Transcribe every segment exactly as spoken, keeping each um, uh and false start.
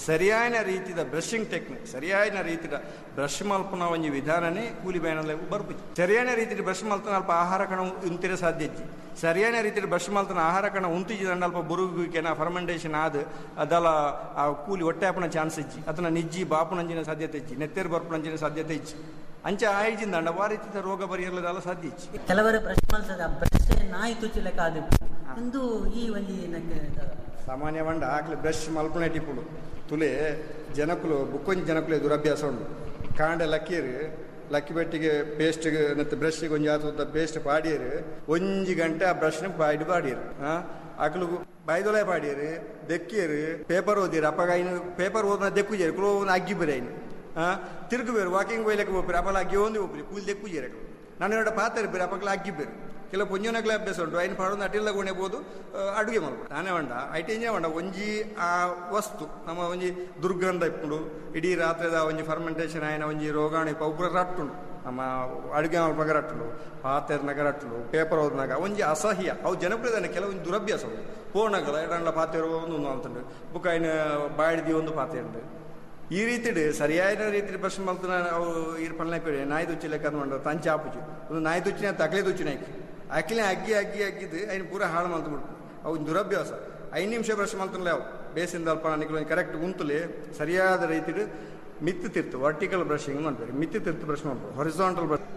ಸರಿಯಾದ ರೀತಿದ brushing technique, ಸರಿಯಾದ ರೀತಿದ ಬ್ರಷ್ ಮಲ್ಪುನ ಒಂಜಿ ವಿಧಾನನೇ ಕೂಲಿ ಬೇನಲೆ ಬರ್ಪುಜಿ. ಸರಿಯಾದ ರೀತಿದ ಬ್ರಷ್ ಮಲ್ತನ ಅಲ್ಪ ಆಹಾರ ಕಣ ಉಂತಿರ ಸಾಧ್ಯ ಇಜ್ಜಿ. ಸರಿಯಾದ ರೀತಿದ ಬ್ರಷ್ ಮಲ್ತನ ಆಹಾರ ಕಣ ಉಂತಿಜಿ ದಂಡ ಅಲ್ಪ ಬುರುಗುಕೆನ ಫರ್ಮೆಂಟೇಷನ್ ಆದ್ ಅದಲ ಆ ಕೂಲಿ ಹೊಟ್ಟೆ ಆಪುನ ಚಾನ್ಸ್ ಇಜ್ಜಿ, ಅದನ್ನ ನಿಜ್ಜಿ ಬಾಪುನಂಜಿನ ಸಾಧ್ಯತೆ ಇಜ್ಜಿ, ನೆತ್ತೆರ್ ಬರ್ಪುನಂಜಿನ ಸಾಧ್ಯತೆ ಇಜ್ಜಿ. ಅಂಚೆ ಆಯ್ಜಿಂದ ಅಂಡ ಆ ರೀತಿದ ರೋಗ ಬರಿಯರ್ಲದಲ್ಲ ಸಾಧ್ಯ ಇಜ್ಜಿ. ಕೆಲವರು ಬ್ರಷ್ ಮಲ್ತದ ಬ್ರಷ್ ನಾಯಿ ತುಚ್ಚುಲೆಕ್ಕ ಆದಿಪ್ಪು ಇಂದು ಈ ಒಂಜಿ ಸಾಮಾನ್ಯ వంಡ ಆಕ್ಲೆ ಬ್ರಷ್ ಮಲ್ಪುನೆ ಟಿಪ್ಪುಡು ತುಲೆ ಜನಕುಲು ಬುಕ್ಕೊಂಜಿ ಜನಕುಲೆ ದುರಭ್ಯಾಸ ಉಂಡು. ಕಾಂಡೆ ಲಕ್ಕೀರು ಲಕ್ಕಿ ಬೆಟ್ಟಿಗೆ ಪೇಸ್ಟ್ ಮತ್ತು ಬ್ರಷ್ಗೆ ಒಂಜಿ ಆತ ಪೇಸ್ಟ್ ಪಾಡಿಯರು ಒಂಜಿ ಗಂಟೆ ಆ ಬ್ರಷ್ನ ಬಾಯ್ಡು ಪಾಡಿಯರು. ಆಕ್ಲು ಬಾಯ್ದೊಲೆ ಪಾಡಿಯರು ದೆಕ್ಕಿಯರು ಪೇಪರ್ ಓದಿರು ಅಪ್ಪಗ ಐನು ಪೇಪರ್ ಓದಿನ ದೆಕ್ಕುಜೇರು ಕುಲೋ ಅಗ್ಗಿ ಬೇರೆ ಐನು ತಿರುಗು ಬೇರು ವಾಕಿಂಗ್ ಒಯ್ಲಕ್ಕೆ ಹೋಗ್ರಿ ಅಪ್ಪಲ ಅಗ್ಗಿ ಒಂದು ಹೋಗ್ರಿ ಕೂಲಿ ದೆಕ್ಕುಜೇರು ನಾನು ಎರಡು ಪಾತ್ರೆ ಬೇರೆ ಅಪ್ಪಗ್ಲ ಅಗ್ಗಿ ಬೇರು. ಕೆಲವು ಪೊಂಜೋನಕ್ಲೆ ಅಭ್ಯಾಸ ಉಂಟು ಐನು ಪಾಡೊಂದು ಅಟಿಲ್ಲ ಗುಣೆಬೋದು ಅಡುಗೆ ಮಲ್ಪು ತಾನೇ వంಡ ಐಟೇಂಜೇ వంಡ ಒಂಜಿ ಆ ವಸ್ತು ನಮ್ಮ ಒಂಜಿ ದುರ್ಗಂಧ ಇಪ್ಪುಂಡು ಇಡೀ ರಾತ್ರಿದ ಒಂಜಿ ಫರ್ಮೆಂಟೇಷನ್ ಆಯ್ನ ಒಂಜಿ ರೋಗಾಣು ಇಪ್ಪ ಉಬ್ಬರ ರಟ್ಟುಂಡು ನಮ್ಮ ಅಡುಗೆ ಮಲ್ಪಗ ರಟ್ಟುಂಡು ಪಾತೆರ್ನಾಗ ರಟ್ಟುಂಡು ಪೇಪರ್ ಓದ್ನಾಗ ಒಂಜಿ ಅಸಹ್ಯ ಅವು ಜನಪ್ರಿಯದಾನೆ ಕೆಲವೊಂದು ದುರಭ್ಯಾಸ ಉಂಟು ಪೋನಗಲ ಎಡಂಡ್ಲ ಪಾತೆರು ಒಂದು ಅಂತಂಡು ಬುಕ್ ಐನ ಬಾಯ್ದಿ ಒಂದು ಪಾತೆ ಉಂಟು. ಈ ರೀತಿಡ್ ಸರಿಯಾದ ರೀತಿ ಬ್ರಷ್ ಮಲ್ತನ ಅವು ಈರ್ ಪಲ್ಲೆ ಪೇಡೆ ನಾಯಿ ತುಚ್ಚಿ ಲೆಕ್ಕ ಮಂಡ ತಂಚೆ ಆಪುಜಿ ಒಂದು ನಾಯಿ ತುಚ್ಚಿನ ತಕಲೆ ತುಚ್ಚಿನ ಅಕ್ಕಿನ ಅಗ್ಗಿ ಅಗ್ಗಿ ಅಗ್ಗಿದ್ದು ಐನು ಪೂರ ಹಾಳು ಮಲ್ತು ಬಿಡ್ತು ಅವು ದುರಭ್ಯಾಸ. ಐದು ನಿಮಿಷ ಬ್ರಷ್ ಮಲ್ತನಲೆ ಅವು ಬೇಸಿಂದ ಅಲ್ಪ ನಿಕ್ಲು ಕರೆಕ್ಟ್ ಉಂತುಲೆ ಸರಿಯಾದ ರೀತಿಡ್ ಮಿತ್ತು ತಿರ್ತು ವರ್ಟಿಕಲ್ ಬ್ರಷಿಂಗ್ ಮಾಡ್ಬೇಕು, ಮಿತ್ತು ತಿರ್ತು ಬ್ರಷ್ ಮಾಡ್ಬೇಕು, ಹೊರಿಸಾಂಟಲ್ ಬ್ರಷ್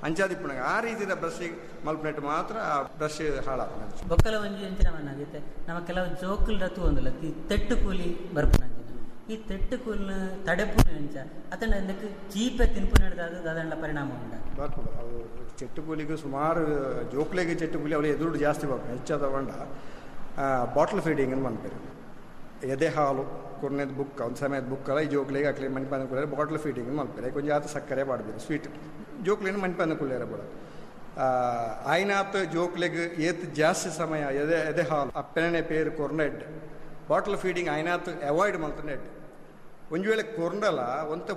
ಅಂಚಾದಿಪ್ಪುನಾಗ ಆ ರೀತಿಯ ಬ್ರಷ್ ಮಲ್ಪನೆಟ್ ಮಾತ್ರ ಆ ಬ್ರಷ್ ಹಾಳಾಪುನ. ಬೊಕ್ಕಲ ಒಂಜಿ ಅಂಚಿನ ಮನ್ನಾಗಿತ್ತೆ ನಮ್ಮ ಕೆಲವು ಜೋಕುಲ್ ರತು ಒಂದಲ್ಲ ತೆಟ್ಟು ಕೂಲಿ ಬರ್ಪುನ ಈ ತೆಟ್ಟು ಕೂಲಿನ ತಡೆಪುನ ಅಂಚ ಅತಂಡ ಅದಕ್ಕೆ ಚೀಪೆ ತಿನ್ಪು ನಡೆದಾದ ದಾದಂಡ ಪರಿಣಾಮ ಉಂಡ ಬರ್ಪುಡು. ಅವು ಚೆಟ್ಟು ಕೂಲಿಗೆ ಸುಮಾರು ಜೋಕ್ಲೆಗೆ ಚೆಟ್ಟು ಕೂಲಿ ಅವಳು ಎದುರು ಜಾಸ್ತಿ ಬರ್ಪು ಹೆಚ್ಚಾದ వంಡ ಬಾಟ್ಲ್ ಫೀಡಿಂಗ್ ಅಂತ ಮನ್ಪೇರು ಎದೆ ಹಾಲು ಕೊರ್ನೆದ ಬುಕ್ ಒಂದು ಸಮಯದ ಬುಕ್ಕಲ್ಲ ಈ ಜೋಕ್ಲೆಗೆ ಅಕ್ಲೆ ಮನ್ಪಂದ ಕುಳ್ಳಿಯರ ಬಾಟ್ಲ್ ಫೀಡಿಂಗ್ ಮಲ್ಪೇರು ಕೊಂಚ ಆತ ಸಕ್ಕರೆ ಪಾಡ್ಬೇರು ಸ್ವೀಟ್ ಜೋಕ್ಲೇನು ಮನ್ಪಂದ ಕುಳ್ಳಿಯರ ಬೋಡ ಆಯ್ನಾತ್ ಜೋಕ್ಲೆಗ್ ಏತ್ ಜಾಸ್ತಿ ಸಮಯ ಎದೆ ಎದೆ ಹಾಲು ಅಪ್ಪನೇ ಪೇರು ಕೊರ್ನೆಡ್ ಬಾಟ್ಲ್ ಫೀಡಿಂಗ್ ಆಯ್ನಾತ್ ಅವಾಯ್ಡ್ ಮಲ್ತನೆಡ್ ಒಂಜಿ ವೇಳೆ ಕೊರ್ಂಡಲ ಒಂತ